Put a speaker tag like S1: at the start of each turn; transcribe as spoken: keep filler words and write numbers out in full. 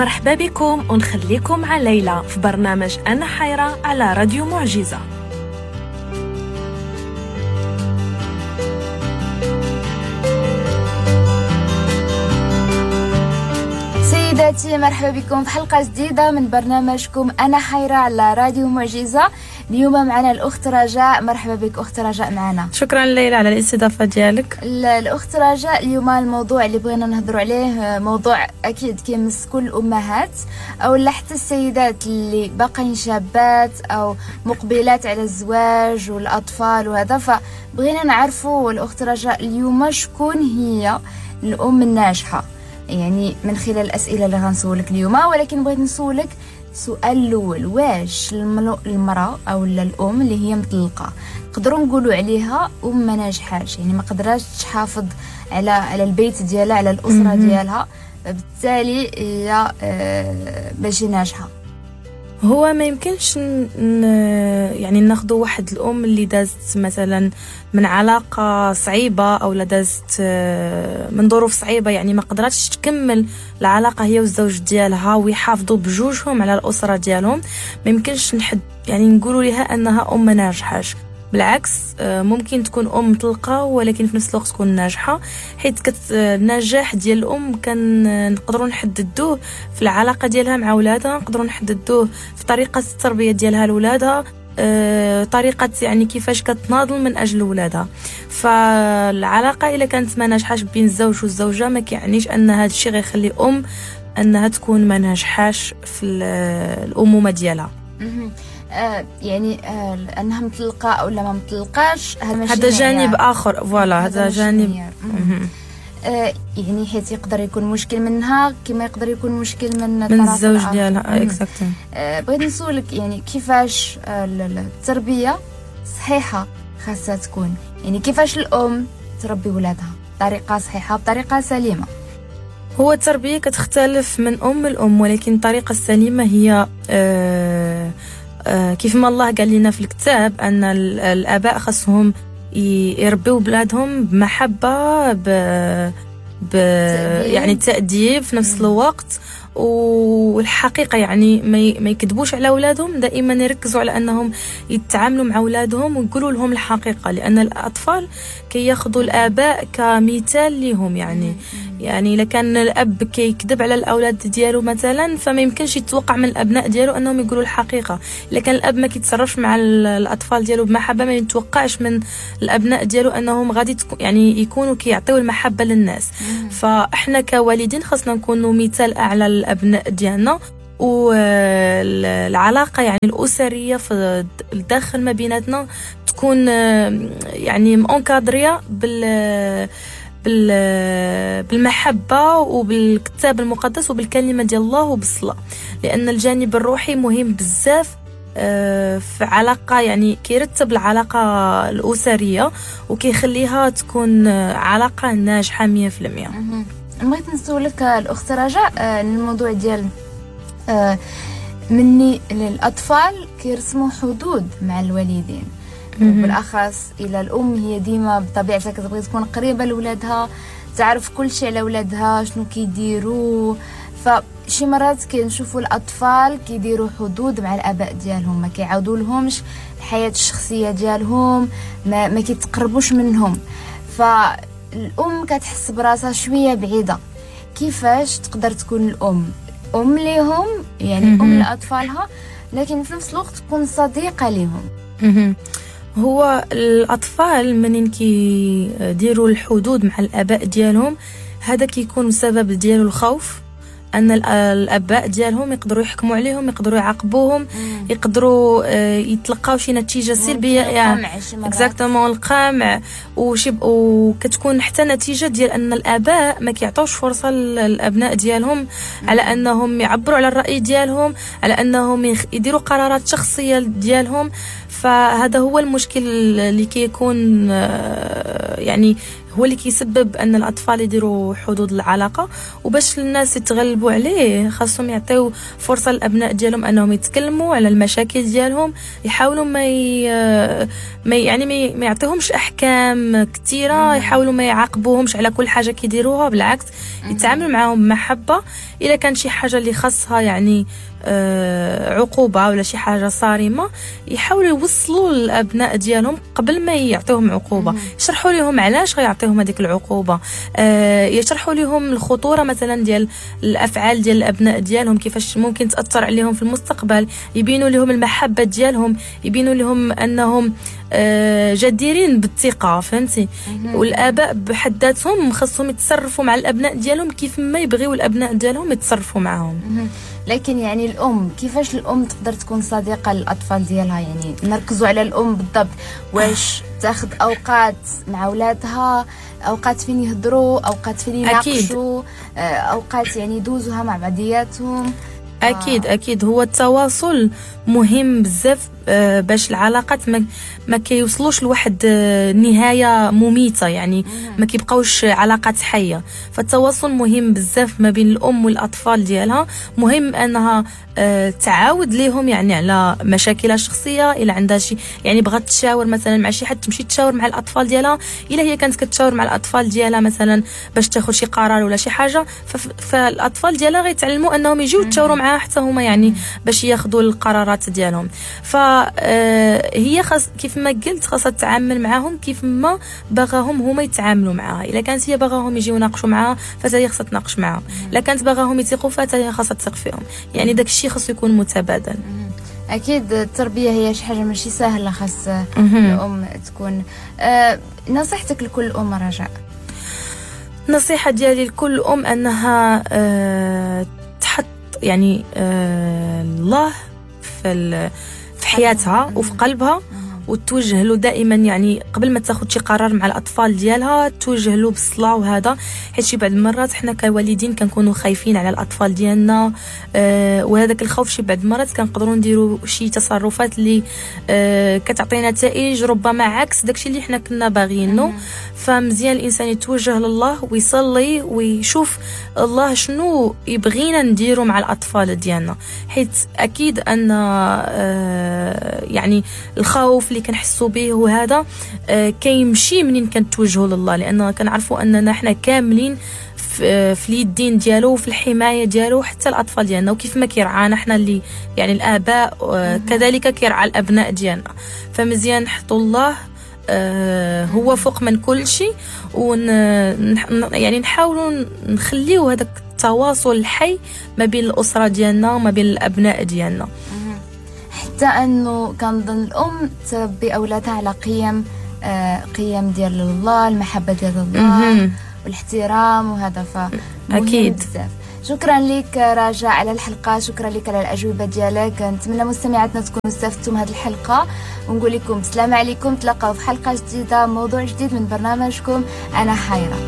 S1: مرحبا بكم ونخليكم مع ليلى في برنامج أنا حيرة على راديو معجزة.
S2: سيداتي مرحبا بكم في حلقة جديدة من برنامجكم أنا حيرة على راديو معجزة. اليوم معنا الأخت رجاء. مرحبا بك أخت رجاء معنا.
S3: شكرا ليلى على الاستضافة ديالك.
S2: الأخت رجاء، اليوم الموضوع اللي بغينا نهضروا عليه موضوع أكيد كيمس كل الأمهات أو حتى السيدات اللي باقين شابات أو مقبلات على الزواج والأطفال وهذا، فبغينا نعرفوا الأخت رجاء اليوم شكون هي الأم الناجحة، يعني من خلال الأسئلة اللي غنسولك اليوم. ولكن بغيت نسولك سؤال الأول، واش المرأة أو الأم اللي هي مطلقة نقدروا نقولوا عليها أم ما ناجحاش، يعني ما قدراتش تحافظ على على البيت ديالها، على الأسرة ديالها، بالتالي هي ماشي ناجحة؟
S3: هو ما يمكنش ن... يعني ناخذ واحد الام اللي دازت مثلا من علاقة صعيبة او لا دازت من ظروف صعيبة، يعني ما قدرتش تكمل العلاقة هي والزوج ديالها ويحافظوا بجوجهم على الاسرة ديالهم، ما يمكنش نحد يعني نقولوا لها انها ام ما ناجحاش. بالعكس ممكن تكون ام مطلقه ولكن في نفس الوقت تكون ناجحة، حيت كت النجاح ديال الام كان نقدروا نحددوه في العلاقة ديالها مع ولادها، نقدروا نحددوه في طريقه التربية ديالها لولادها، طريقه يعني كيفاش كتناضل من اجل ولادها. فالعلاقه الا كانت ما ناجحاش بين الزوج والزوجة ما كيعنيش ان هذا الشيء غيخلي ام انها تكون ما ناجحاش في الامومة ديالها.
S2: آه يعني آه انها مطلقه او لا ما مطلقاش
S3: هذا جانب اخر، voilà هذا جانب
S2: آه يعني حيت يقدر يكون مشكل منها كما يقدر يكون مشكل من
S3: من الزوج ديالها. exactement.
S2: آه بغيت نسولك يعني كيفاش آه التربية صحيحه خاصها تكون، يعني كيفاش الام تربي ولادها بطريقة صحيحه بطريقة سليمة؟
S3: هو التربية كتختلف من ام لام، ولكن الطريقة السليمة هي آه آه كيف ما الله قال لنا في الكتاب ان الاباء خاصهم يربيو بلادهم بمحبة ب... ب... يعني التأديب في نفس الوقت، والحقيقة يعني ما يكذبوش على اولادهم، دائما يركزوا على انهم يتعاملوا مع اولادهم ويقولوا لهم الحقيقة، لان الاطفال كياخذوا الاباء كمثال لهم. يعني يعني الا كان الاب كيكذب على الاولاد ديالو مثلا فما يمكنش يتوقع من الابناء ديالو انهم يقولوا الحقيقة. الا كان الاب ما كيتصرفش مع الاطفال ديالو بمحبة ما يتوقعش من الابناء ديالو انهم غادي يعني يكونوا كيعطيو المحبة للناس. فاحنا كوالدين خاصنا نكونوا مثال اعلى للابناء ديالنا، والعلاقة يعني الاسرية في الداخل ما بيناتنا تكون يعني encadrée بال بالمحبة وبالكتاب المقدس وبالكلمه ديال الله وبالصلاه، لان الجانب الروحي مهم بزاف في علاقة، يعني كيرتب العلاقة الاسرية وكيخليها تكون علاقة ناجحة مية في المية.
S2: بغيت نسولك الاخت رجاء الموضوع ديال مني للاطفال كيرسموا حدود مع الوالدين، وبالاخص الى الام هي ديما بطبيعتها كتبغي تكون قريبه لولادها، تعرف كل شيء على ولادها شنو كيديروا. فشي مرات كنشوفوا الاطفال كيديروا حدود مع الاباء ديالهم، ما كيعاودوا لهمش الحياة الشخصية ديالهم، ما, ما كيتقربوش منهم، فالام كتحس براسها شوية بعيدة. كيفاش تقدر تكون الام ام ليهم، يعني ام لاطفالها، لكن في نفس الوقت تكون صديقه ليهم؟
S3: هو الأطفال منين كيديروا الحدود مع الآباء ديالهم هذا كيكون السبب ديالو الخوف، أن الآباء ديالهم يقدروا يحكموا عليهم، يقدروا يعاقبوهم، يقدروا يتلقاو شي نتيجة سلبية، يعني exactement القمع وشي، وكتكون حتى نتيجة ديال أن الآباء ما كيعطوش فرصة للأبناء ديالهم على أنهم يعبروا على الرأي ديالهم، على أنهم يديروا قرارات شخصية ديالهم. فهذا هو المشكل اللي كيكون يعني هو اللي كيسبب ان الاطفال يديروا حدود العلاقة. وباش الناس يتغلبوا عليه خاصهم يعطيو فرصة للابناء ديالهم انهم يتكلموا على المشاكل ديالهم، يحاولوا ما ي... ما يعني ما يعطيهمش احكام كثيرة، يحاولوا ما يعاقبوهمش على كل حاجة كيديروها، بالعكس يتعاملوا معاهم بمحبة، الا كان شي حاجة اللي خاصها يعني آه عقوبه ولا شي حاجة صارمة، يحاولوا يوصلوا للابناء ديالهم قبل ما يعطيهم عقوبه، يشرحوا لهم علاش غيعطيهم هذيك العقوبة، آه يشرحوا لهم الخطورة مثلا ديال الافعال ديال الابناء ديالهم، كيفاش ممكن تاثر عليهم في المستقبل، يبينوا لهم المحبة ديالهم، يبينوا لهم انهم آه جديرين بالثقة، فهمتي؟ والاباء بحد ذاتهم خاصهم يتصرفوا مع الابناء ديالهم كيف ما يبغيو الابناء ديالهم يتصرفوا معهم.
S2: لكن يعني الام، كيفاش الام تقدر تكون صديقه للاطفال ديالها؟ يعني نركزوا على الام بالضبط، واش تاخذ اوقات مع اولادها، اوقات فين يهضروا، اوقات فين يناقشوا، اوقات يعني يدوزوها مع بعضياتهم؟
S3: اكيد اكيد هو التواصل مهم بزاف باش العلاقات ما, ما كيوصلوش لواحد نهاية مميته، يعني ما كيبقاوش علاقات حيه. فالتواصل مهم بزاف ما بين الام والاطفال ديالها. مهم انها تعاود ليهم يعني على مشاكلها الشخصية، الا عندها شي يعني بغات تشاور مثلا مع شي حد تمشي تشاور مع الاطفال ديالها. الا هي كانت كتشاور مع الاطفال ديالها مثلا باش تاخذ شي قرار ولا شي حاجة، فالاطفال ديالها غيتعلموا انهم يجيو يتشاوروا معاها حتى هما، يعني باش ياخذوا القرارات ديالهم. فهي خاص كيف ما قلت خاصها تتعامل معاهم كيف ما باغاهم هما يتعاملوا معاها. الا كانت هي باغاهم يجيو يناقشوا معاها فهي خاصها تناقش معاهم، الا كانت باغاهم يثقوا فهي خاصها تثق فيهم، يعني داك الشيء خاصو يكون متبادل.
S2: اكيد التربية هي شي حاجة ماشي سهلة، خاص الام تكون. أه نصيحتك لكل ام رجاء؟
S3: النصيحة ديالي لكل ام انها أه تحط يعني أه الله في في حياتها وفي قلبها، وتوجه له دائما، يعني قبل ما تاخذ شي قرار مع الاطفال ديالها توجه له بالصلاة وهذا، حيت شي بعض المرات حنا كوالدين كنكونوا خايفين على الاطفال ديالنا، آه وهذاك الخوف شي بعض المرات كنقدروا نديروا شي تصرفات اللي آه كتعطي نتائج ربما عكس داكشي اللي حنا كنا باغيينه. فمزيان الانسان يتوجه لله ويصلي ويشوف الله شنو يبغينا نديروا مع الاطفال ديالنا، حيت اكيد ان آه يعني الخوف اللي كنحسوا به وهذا آه كيمشي منين كنتوجهوا لله، لان كنعرفوا اننا حنا كاملين في, في اليدين ديالو وفي الحماية ديالو، حتى الاطفال ديالنا، وكيف ما كيرعانا حنا اللي يعني الاباء آه كذلك كيرعى الابناء ديالنا. فمزيان نحطوا الله آه هو فوق من كل شيء، ون يعني نحاولوا نخليو هذاك التواصل الحي ما بين الاسرة ديالنا وما بين الابناء ديالنا.
S2: حتى انه كنظن الام تربي اولادها على قيم آه قيم ديال الله، المحبة ديال الله والاحترام وهذا، ف
S3: اكيد
S2: بزاف. شكرا لك رجاء على الحلقة، شكرا لك على الاجوبة ديالك. نتمنى مستمعاتنا تكونوا استفدتوا من هذه الحلقة، ونقول لكم السلام عليكم، تلاقاو في حلقة جديدة، موضوع جديد من برنامجكم انا حيره.